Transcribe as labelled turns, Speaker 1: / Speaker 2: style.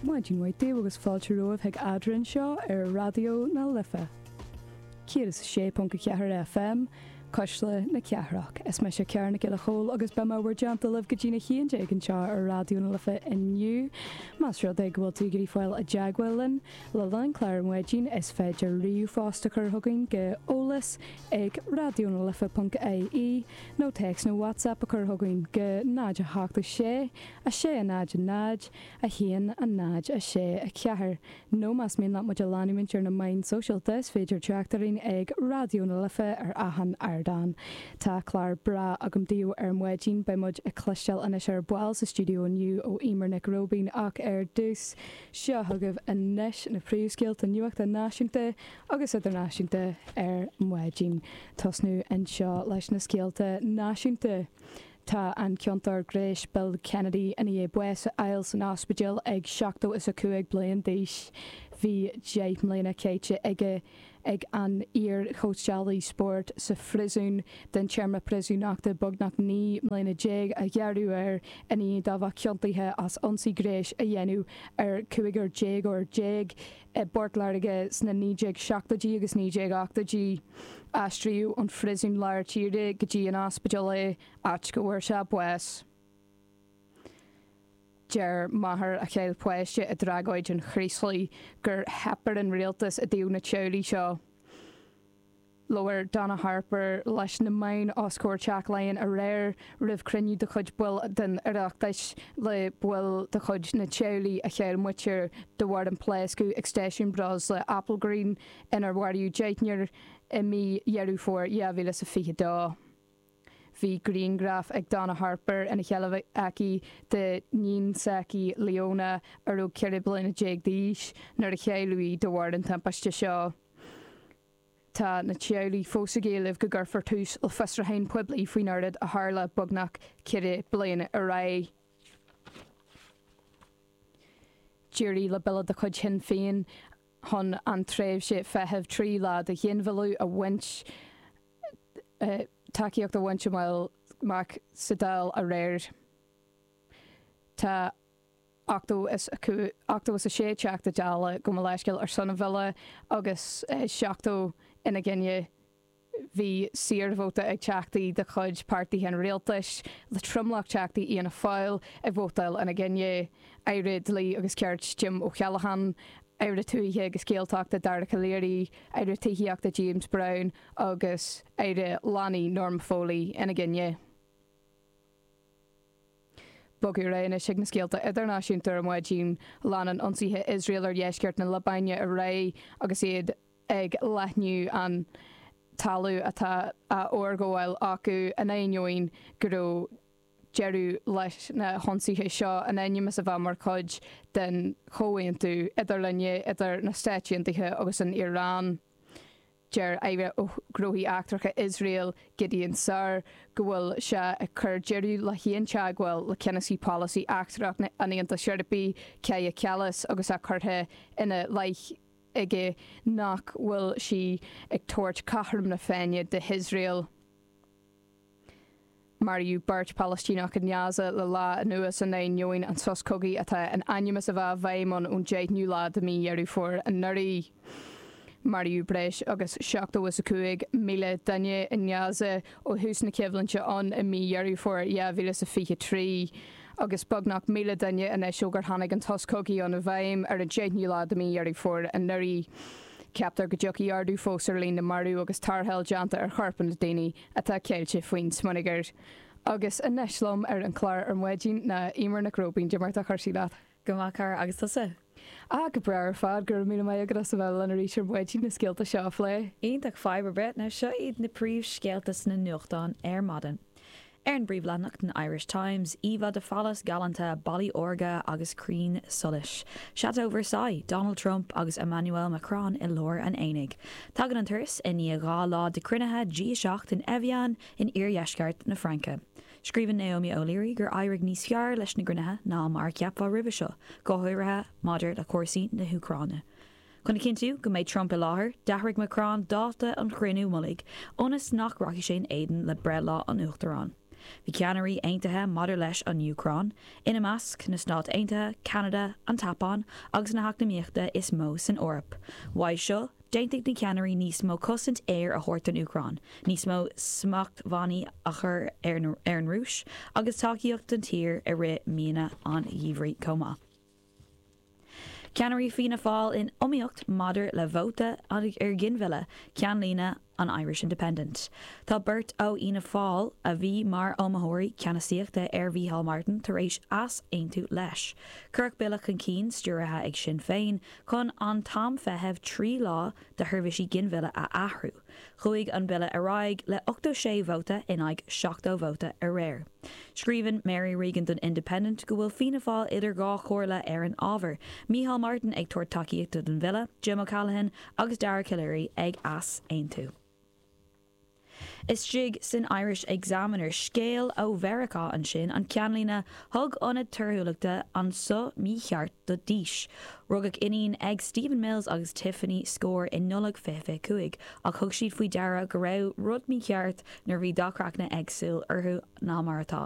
Speaker 1: Maidin mhaith daoibh agus fáilte romhaibh chuig Eadrainn anseo ar Raidió na Life 106.4 FM, Cuisle na Cathrach. Is mise Ciara Nic Giolla Chóill agus beidh mé i bhur dteannta libh go dtína 11 anseo ar Raidió na Life inniu. Más rud é go bhfuil tú ag iarraidh fáil i dteagmháil linn le linn an chláir ar maidin is féidir ríomhphost a chur chugainn go eolas ag raidionalife.ie nó téacs nó WhatsApp a chur chugainn go 0 8 6 6 0 0 1 0 6 4 Nó más mian leat muid a leanúint ar na meáin sóisialta is féidir teacht orainn ag Raidió na Life ar achan ardán. Tá clár breá agam daoibh ar maidin, beidh muid ag cloisteáil anois ar ball sa stiúideo inniu ó Eimear Nic Róibín ach ar dtús, seo chugaibh anois na príomhscéalta nuachta náisiúnta agus idirnáisiúnta ar maidin. Tosnú anseo leis na scéalta náisiúnta. Tá an ciontóir gnéis Bill Kennedy i ndiaidh bás a fháil san ospidéal ag 75 bliain d'aois. Bhí 10 mbliana caite aige ag an iar-chóitseálaí spóirt sa phríosún den téarma príosúnachta beagnach 19 mbliana a gearradh air i ndiaidh dó bheith ciontaithe as ionsaí gnéis a dhéanamh ar chúigear déagóir i bPort Láirge sna 1970idí agus 1980idí. Aistríodh ón phríosún lár tíre go dtí an ospidéal é, áit go bhfuair sé bás. Deir máthair a chaill páiste i dtragóid an Chraoslaigh gur theip ar an rialtas i dtaobh na teaghlaigh seo. Labhair Donna Harper leis na meáin os comhair Teach Laighean aréir roimh chruinniú de chuid baill den Oireachtas le baill de chuid na teaghlaigh a chaill muintir de bharr an pléascadh ag stáisiún breosla Applegreen inar maraíodh deichniúr i mí Dheireadh Fómhair 2022. Bhí grianghraf ag Donna Harper ina sheilbh aici d'iníon s'aici, Leona, a raibh 14 bliana d'aois nuair a cailleadh í de bharr an timpiste seo. Tá na teaghlaigh fós ag éileamh go gcuirfear tús le fiosrúchán poiblí faoin rud a tharla beagnach 4 bliana ar aghaidh. D'éirigh le bille de chuid Shinn Féin chun an tréimhse feithimh 3 lá do ghinmhilleadh a bhaint tacaíocht a bhaint amach sa Dáil aréir. Tá. 86 Teachta Dála, gabh mo leithscéal, ar son an bhille agus 70 ina gcoinne. Bhí saorvóta ag teachtaí de chuid páirtithe an rialtais, le tromlach teachtaí Fhianna Fáil ag vótáil ina gcoinne. Aire Dlí agus Cirt Jim O'Callaghan, Aire Tuaithe agus Gaeltachta Dara Calleary, Aire Tithíochta James Browne agus Aire Leanaí Norma Foley ina gcoinne. Bogadh ar aghaidh anois chuig na scéalta idirnáisiúnta ar maidin. Leanann ionsaithe Iosrael ar dheisceart na Liobáine ar aghaidh agus iad ag leathnú an talamh atá á fhorghabháil acu in ainneoin go raibh deireadh leis na hionsaithe seo in ainm is a bheith mar chuid den chomhaontú idirlinne idir na Stáit Aontaithe agus an Iaráin. Deir Aire Gnóthaí Eachtracha Iosrael, Gideon Saar, go bhfuil sé ag cur deireadh le haon teagmháil le ceannasaí polasaí eachtrach an Aontais Eorpaigh, Kaja Kallas, agus é curtha ina leith aige nach bhfuil sí ag tabhairt cothrom na Féinne d'Iosrael. Maraíodh beirt Phalaistíneach i nGaza le lá anuas in ainneoin an sos cogaidh atá in ainm is a bheith i bhfeidhm ann ón 10ú lá de mhí Dheireadh Fómhair anuraidh. Maraíodh breis agus 75,000 duine i nGaza ó thús na coimhlinte ann i mí Dheireadh Fómhair 2023 agus beagnach 1,000 duine anois ó gur tháinig an sos cogaidh ann i bhfeidhm ar an 10ú lá de mhí Dheireadh Fómhair anuraidh. Ceaptar go dtiocfaidh ardú fós ar líon na marbh agus tarrtháil déanta ar chorpanna daoine atá ceilte faoin smionagar. Agus anois liom ar an chlár ar maidin ná Eimear Nic Róibín. Cad é mar tá cúrsaí leat?
Speaker 2: Go maith, Cara, agus tusa?
Speaker 1: Ah, go breá ar fad. Go raibh míle maith agat as a bheith linn arís ar maidin na scéalta seo a phlé.
Speaker 2: Iontach, fadhb ar bith. Now seo iad na príomhscéalta sna nuachtáin ar maidin. Ar an bpríomhleathanach den Irish Times, íomhá de phálás galánta, ballaí órga agus crainn solais. Chateau Versailles, Donald Trump agus Emmanuel Macron i lár an aonaigh. Tagann an turas i ndiaidh 2 lá de chruinnithe G7 in Evian in iardheisceart na Fraince. Scríobhann Naomi O'Leary gur éirigh níos fearr leis na gcruinnithe ná mar a cheapfá roimhe seo, go háirithe maidir le cúrsaí na hÚcráine. Chun a chinntiú go mbeidh Trump i láthair, d'athraigh Macron dáta an chruinniú mullaigh ionas nach rachaidh sé in éadan le breithlá an Uachtaráin. Bhí ceannairí aontaithe maidir leis an Úcráin, ina measc, na Stáit Aontaithe, Ceanada, an tSeapáin agus na heacnamaíochta is mó san Eoraip. Uaidh seo, d'aontaigh na ceannairí níos mó cosaint aeir a thabhairt don Úcráin, níos mó smachtbhannaí a chur ar an Rúis agus tacaíocht don tír i rith míonna an gheimhridh chomh maith. Ceannairí Fianna Fáil in iomaíocht maidir le vóta ar ghinmhilleadh, ceannlíne an Irish Independent. Tá beirt ó Fhianna Fáil a bhí mar iomaitheoirí ceannasaíochta ar Mhícheál Martin tar éis easaontú leis. Cuireadh bille chun cinn, stiúrtha ag Sinn Féin, chun an t-am feithimh 3 lá do sheirbhísí ginmhilleadh a athrú. Chuaigh an bille ar aghaidh le 86 vóta in aghaidh 70 vóta aréir. Scríobhann Mary Regan don Independent go bhfuil Fianna Fáil idir dhá chomhairle ar an ábhar, Micheál Martin ag tabhairt tacaíochta don bhille, Jim O'Callaghan agus Dara Calleary ag easaontú. Istigh san Irish Examiner, scéal ó Mheiriceá ansin, an ceannlíne, Thug Ionad Torthúlachta an suth mícheart do Dís. Rugadh iníon ag Stephen Mills agus Tiffany Skor i Nollaig 2025, ach thug siad faoi deara go raibh rud mícheart nuair a bhí dath craicne éagsúil orthu ná mar atá.